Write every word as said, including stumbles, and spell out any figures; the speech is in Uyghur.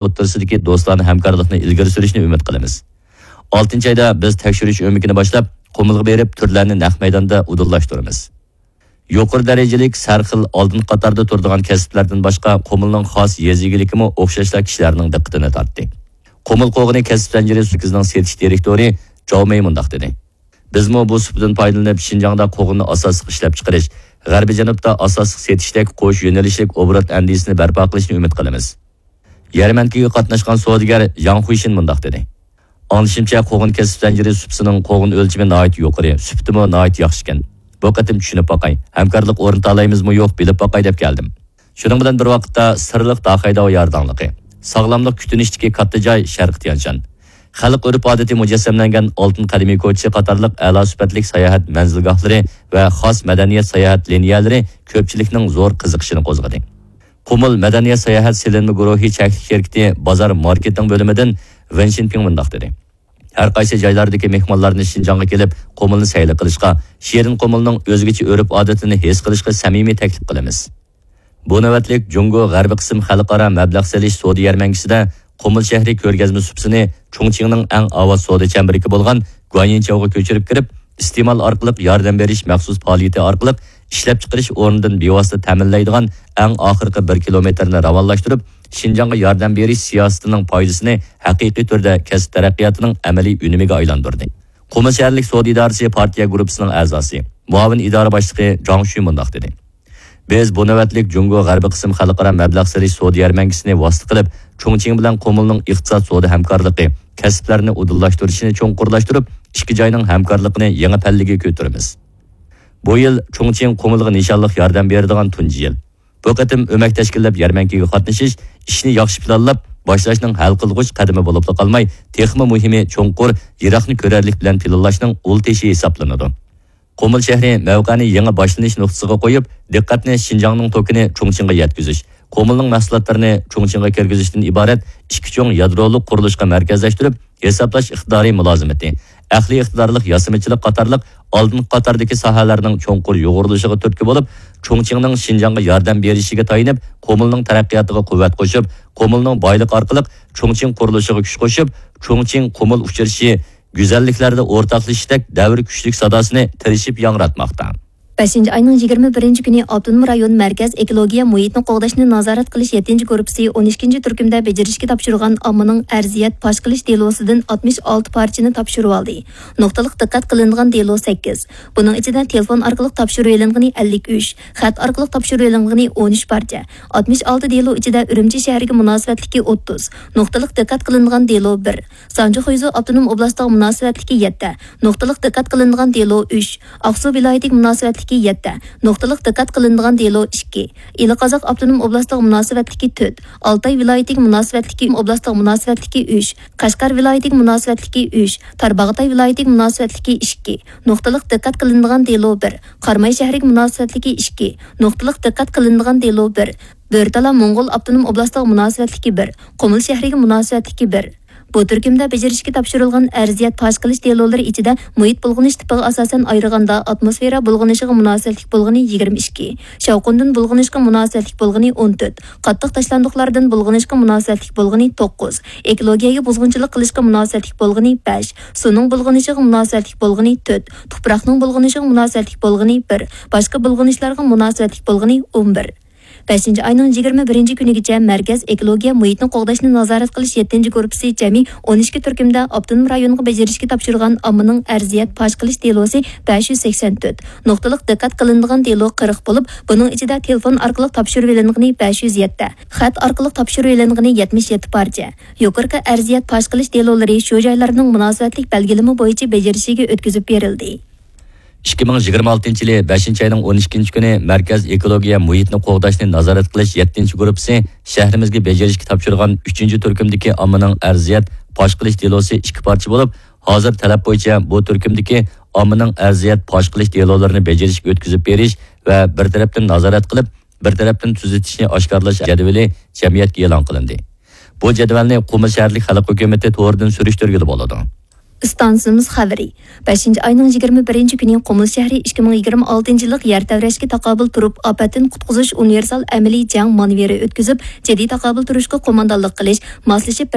ئوتتۇرىسىدىكى دوستانە ھەمكارلىقنى ئىلگىرى سۈرۈشنى ئۈمىد قىلىمىز. ئالتىنچى ئايدا بىز تەكشۈرۈش ئۆمىكىنى باشلاپ، قۇمۇلغا بېرىپ، تۈرلەرنى نەق مەيداندا ئۇدۇللاشتۇرىمىز. يۇقىرى دەرىجىلىك سەرخىل ئالدىنقى قاتاردا تۇرىدىغان كەسىپلەردىن باشقا، قۇمۇلنىڭ خاس يېزا ئىگىلىكىمۇ ئوخشاشلا كىشىلەرنىڭ دىققىتىنى تارتتى. قۇمۇل قوغۇنى كەسىپ زەنجىرى سېتىش دىرېكتورى جاۋ مېي مۇنداق دېدى: بىزمۇ بۇ سۇپىدىن پايدىلىنىپ، شىنجاڭدا قوغۇننى ئاساسلىق ئىشلەپچىقىرىش، غەربىي جەنۇبتا ئاساسلىق سېتىشتەك قوش يۆنىلىشلىك ئوبوروت ئەندىزىسىنى بەرپا قىلىشنى ئۈمىد قىلىمىز. يەرمەنكىگە قاتناشقان سودىگەر ياڭ خۇيشىن مۇنداق دېدى: ئاڭلىشىمچە، قوغۇن كەسىپ زەنجىرى سۇپىسىنىڭ قوغۇن ئۆلچىمى ناھايىتى يۇقىرى، سۈپىتىمۇ ناھايىتى ياخشىكەن. بۇ قېتىم چۈشىنىپ باقاي، ھەمكارلىق ئورنىتالايمىزمۇ يوق، بىلىپ باقاي دەپ كەلدىم. شۇنىڭ بىلەن بىر ۋاقىتتا، سىرلىق داخەي داۋا يارداڭلىقى، ساغلاملىق كۈتۈنۈشتىكى كاتتا جاي شەرقىي تيەنشان، خەلق ئۆرپ-ئادىتى مۇجەسسەملەنگەن ئالتۇن قەدىمىي كوچىسى قاتارلىق ئەلا سۈپەتلىك ساياھەت مەنزىلگاھلىرى ۋە خاس مەدەنىيەت ساياھەت لىنىيەلىرى كۆپچىلىكنىڭ زور قىزىقىشىنى قوزغىدى. قۇمۇل مەدەنىيەت ساياھەت سېلىنما گۇرۇھى چەكلىك شىركىتى بازار ماركېتىنىڭ بۆلۈمىدىن ۋېن شىنپىڭ مۇنداق دېدى: ھەر قايسى جايلاردىكى مېھمانلارنى شىنجاڭغا كېلىپ، قۇمۇلنى سەيلە قىلىشقا، شېرىن قۇمۇلنىڭ ئۆزگىچە ئۆرپ-ئادىتىنى ھېس قىلىشقا سەمىمىي تەكلىپ قىلىمىز. بۇ نۆۋەتلىك جۇڭگو غەربىي قىسىم خەلقئارا مەبلەغ سېلىش سودا يەرمەنكىسىدە قۇمۇل شەھىرى كۆرگەزمە سۇپىسىنى چۇڭچىڭنىڭ ئەڭ ئاۋات سودا چەمبىرىكى بولغان گۇەنيىنچاۋغا كۆچۈرۈپ كىرىپ، ئىستېمال ئارقىلىق ياردەم بېرىش مەخسۇس پائالىيىتى ئارقىلىق ئىشلەپچىقىرىش ئورنىدىن بىۋاسىتە تەمىنلەيدىغان ئەڭ ئاخىرقى بىر كىلومېتىرنى راۋانلاشتۇرۇپ، شىنجاڭغا ياردەم بېرىش سىياسىتىنىڭ پايدىسىنى ھەقىقىي تۈردە كەسىپ تەرەققىياتىنىڭ ئەمەلىي ئۈنۈمىگە ئايلاندۇردى. قۇمۇل شەھەرلىك سودا ئىدارىسى پارتىيە گۇرۇپپىسىنىڭ ئەزاسى، مۇئاۋىن ئىدارە باشلىقى جاڭ شۈ مۇنداق دېدى: بىز بۇ نۆۋەتلىك جۇڭگو غەربىي قىسىم خەلقئارا مەبلەغ سېلىش سودا يەرمەنكىسىنى ۋاسىتە قىلىپ، چۇڭچىڭ بىلەن قۇمۇلنىڭ ئىقتىساد سودا ھەمكارلىقى، كەسىپلەرنى ئۇدۇللاشتۇرۇشىنى چوڭقۇرلاشتۇرۇپ، ئىككى جاينىڭ ھەمكارلىقىنى يېڭى پەللىگە كۆتۈرىمىز. بۇ يىل چۇڭچىڭ قۇمۇلغا نىشانلىق ياردەم بېرىدىغان تۇنجى يىل. بۇ قېتىم ئۆمەك تەشكىللەپ يەرمەنكىگە قاتنىشىش، ئىشنى ياخشى پىلانلاپ باشلاشنىڭ ھەل قىلغۇچ قەدىمى بولۇپلا قالماي، تېخىمۇ مۇھىمى، چوڭقۇر، يىراقنى كۆرەرلىك بىلەن پىلانلاشنىڭ ئۇل تېشى ھېسابلىنىدۇ. قۇمۇل شەھىرى مەۋقەنى يېڭى باشلىنىش نۇقتىسىغا قويۇپ، دىققەتنى شىنجاڭنىڭ توكىنى چۇڭچىڭغا يەتكۈزۈش، قۇمۇلنىڭ مەھسۇلاتلىرىنى چۇڭچىڭغا كىرگۈزۈشتىن ئىبارەت ئىككى چوڭ يادرولۇق قۇرۇلۇشقا مەركەزلەشتۈرۈپ، ھېسابلاش ئىقتىدارى مۇلازىمىتى، ئەقلىي ئىقتىدارلىق ياسىمىچىلىق قاتارلىق ئالدىنقى قاتاردىكى ساھەلەرنىڭ چوڭقۇر يۇغۇرۇلۇشىغا تۈرتكە بولۇپ، چۇڭچىڭنىڭ شىنجاڭغا ياردەم بېرىشىگە تايىنىپ، قۇمۇلنىڭ تەرەققىياتىغا قۇۋۋەت قوشۇپ، قۇمۇلنىڭ بايلىقى ئارقىلىق چۇڭچىڭ قۇرۇلۇشىغا كۈچ قوشۇپ، چۇڭچىڭ قۇمۇل ئۇچرىشىشى، گۈزەللىكلەردە ئورتاقلىشىشتەك دەۋر كۈچلۈك ساداسىنى تىرىشىپ ياڭراتماقتا. بەشىنچى ئاينىڭ يىگىرمە بىرىنچى كۈنى ئاپتونوم رايون مەركەز ئېكولوگىيە مۇھىتنى قوغداشنى نازارەت قىلىش يەتتىنچى گۇرۇپپىسى ئون ئىككىنچى تۈركۈمدە بېجىرىشكە تاپشۇرغان ئاممىنىڭ ئەرزىيەت پاش قىلىش دېلوسىدىن ئاتمىش ئالتە پارچىنى تاپشۇرۇۋالدى. نۇقتىلىق دىققەت قىلىنىدىغان دېلو سەككىز. بۇنىڭ ئىچىدە تېلېفون ئارقىلىق تاپشۇرۇۋېلىنغىنى ئەللىك ئۈچ، خەت ئارقىلىق تاپشۇرۇۋېلىنغىنى ئون ئۈچ پارچە. ئاتمىش ئالتە دېلو ئىچىدە ئۈرۈمچى شەھىرىگە مۇناسىۋەتلىكى ئوتتۇز، نۇقتىلىق دىققەت قىلىنىدىغان دېلو بىر. سانجى خۇيزۇ ئاپتونوم ئوبلاستىغا مۇناسىۋەتلىكى يەتتە، نۇقتىلىق دىققەت قىلىنىدىغان دېلو ئۈچ، ئاقسۇ ۋىلايىتىگە مۇناسىۋەتلىكى يەتتە، نۇقتىلىق دىققەت قىلىنىدىغان دېلو ئىككى، ئىلى قازاق ئاپتونوم ئوبلاستىغا مۇناسىۋەتلىكى تۆت، ئالتاي ۋىلايىتىگە مۇناسىۋەتلىكى ئوبلاستىغا مۇناسىۋەتلىكى ئۈچ، قەشقەر ۋىلايىتىگە مۇناسىۋەتلىكى ئۈچ، تارباغاتاي ۋىلايىتىگە مۇناسىۋەتلىكى ئىككى، نۇقتىلىق دىققەت قىلىنىدىغان دېلو بىر، قاراماي شەھىرىگە مۇناسىۋەتلىكى ئىككى، نۇقتىلىق دىققەت قىلىنىدىغان دېلو بىر، بۆرتالا موڭغۇل ئاپتونوم ئوبلاستىغا مۇناسىۋەتلىكى بىر، قۇمۇل شەھىرىگە مۇناسىۋەتلىكى بىر. بۇ تۈركۈمدە بېجىرىشكە تاپشۇرۇلغان ئەرزىيەت پاش قىلىش دېلولىرى ئىچىدە مۇھىت بۇلغىنىش تىپىغا ئاساسەن ئايرىغاندا ئاتموسفېرا بۇلغىنىشىغا مۇناسىۋەتلىك بولغىنى يىگىرمە ئىككى، شاۋقۇندىن بۇلغىنىشقا مۇناسىۋەتلىك بولغىنى ئون تۆت، قاتتىق تاشلاندۇقلاردىن بۇلغىنىشقا مۇناسىۋەتلىك بولغىنى توققۇز، ئېكولوگىيەگە بۇزغۇنچىلىق قىلىشقا مۇناسىۋەتلىك بولغىنى بەش، سۇنىڭ بۇلغىنىشىغا مۇناسىۋەتلىك بولغىنى تۆت، تۇپراقنىڭ بۇلغىنىشىغا مۇناسىۋەتلىك بولغىنى بىر، باشقا بۇلغىنىشلارغا مۇناسىۋەتلىك بولغىنى ئون بىر. بەشىنچى ئاينىڭ يىگىرمە بىرىنچى كۈنىگىچە مەركەز ئېكولوگىيە مۇھىتنى قوغداشنى نازارەت قىلىش يەتتىنچى گۇرۇپپىسى جەمئىي ئون ئىككى تۈركۈمدە ئاپتونوم رايونغا بېجىرىشكە تاپشۇرغان ئاممىنىڭ ئەرزىيەت پاش قىلىش دېلوسى بەش يۈز سەكسەن تۆت، نۇقتىلىق دىققەت قىلىنىدىغان دېلو قىرىق بولۇپ، بۇنىڭ ئىچىدە تېلېفون ئارقىلىق تاپشۇرۇۋېلىنغىنى بەش يۈز يەتتە، خەت ئارقىلىق تاپشۇرۇۋېلىنغىنى يەتمىش يەتتە پارچە. يۇقىرىقى ئەرزىيەت پاش قىلىش دېلولىرى شۇ جايلارنىڭ مۇناسىۋەتلىك بەلگىلىمە بويىچە بېجىرىشىگە ئۆتكۈزۈپ بېرىلدى. ئىككى مىڭ يىگىرمە ئالتىنچى يىلى بەشىنچى ئاينىڭ ئون ئىككىنچى كۈنى مەركەز ئېكولوگىيە مۇھىتنى قوغداشنى نازارەت قىلىش يەتتىنچى گۇرۇپپىسى شەھىرىمىزگە بېجىرىشكە تاپشۇرغان ئۈچىنچى تۈركۈمدىكى ئاممىنىڭ ئەرزىيەت پاش قىلىش دېلوسى ئىككى پارچە بولۇپ، ھازىر تەلەپ بويىچە بۇ تۈركۈمدىكى ئاممىنىڭ ئەرزىيەت پاش قىلىش دېلولىرىنى بېجىرىشكە ئۆتكۈزۈپ بېرىش ۋە بىر تەرەپتىن نازارەت قىلىپ، بىر تەرەپتىن تۈزىتىشنى ئاشكارىلاش جەدۋىلى جەمئىيەتكە ئېلان قىلىندى. بۇ جەدۋەلنى قۇمۇل شەھەرلىك خەلق ھۆكۈمىتى تورىدىن سۈرۈشتۈرگىلى بولىدۇ. ئىستانسىمىز خەۋىرى. بەشىنچى ئاينىڭ يىگىرمە بىرىنچى كۈنى قۇمۇل شەھىرى ئىككى مىڭ يىگىرمە ئالتىنچى يىللىق يەر تەۋرەشكە تاقابىل تۇرۇپ، ئاپەتتىن قۇتقۇزۇش ئۇنىۋېرسال ئەمەلىي جەڭ مانېۋىرى ئۆتكۈزۈپ، جىددىي تاقابىل تۇرۇشقا قوماندانلىق قىلىش، ماسلىشىپ